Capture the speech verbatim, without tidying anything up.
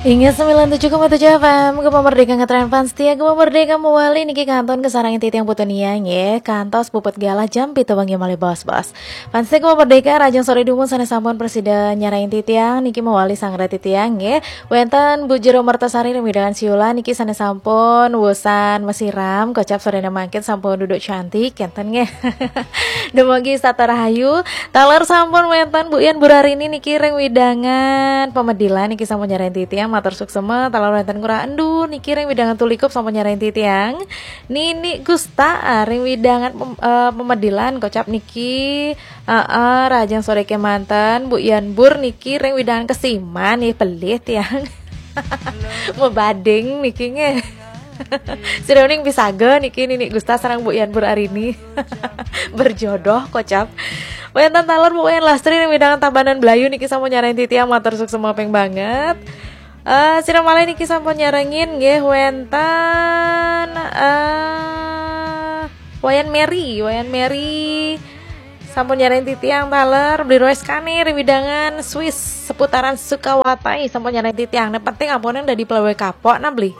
Inggih sembilan tujuh koma tujuh F M, Gema Merdeka ngetren fans setia, Gema Merdeka mewali niki kantun kasarengin titiang Putu Nia nggih, kantos puput galah jam pitu wengi malih bos-bos. Fans setia Gema Merdeka, rahajeng sore dumun sané sampun prasida nyarengin titiang niki mewali sanggra titiang nggih. Wénten Bu Jero Mertasari ring wewidangan Siulan niki sané sampun wusan masiram, kocap soréné mangkin sampun duduk cantik, kénten nggih. Dumugi setata rahayu, taler sampun wénten Bu Yan Burarini niki ring wewidangan Pamedilan niki sampun nyarengin titiang, matur suksma, taler wénten Ngurah Endu niki ring wewidangan Tulikup sampun nyarengin titiang. Nini Gusta, ah, ring wewidangan pem-, eh, Pamedilan kocap niki, heeh, rahajeng sore kémanten, Bu Yan Bur niki ring wewidangan Kesiman, nggih pelih tiang. Mabading niki nggih. Sira uning pisaga niki Nini Gusta sareng Bu Yan Burarini. Berjodoh kocap. Wénten taler Bu Yan Lastri ring wewidangan Tabanan Blayu niki sampun nyarengin titiang, matur suksma ping banget. Eh, sira malih niki sampun nyarengin nggih wénten, eh, Wayan Mary, Wayan Mary sampun nyarengin titiang taler, Beli Royce Kani ring wewidangan Swiss seputaran Sukawati sampun nyarengin titiang. Nah, penting ampun dadi pegawai kapok nah Beli.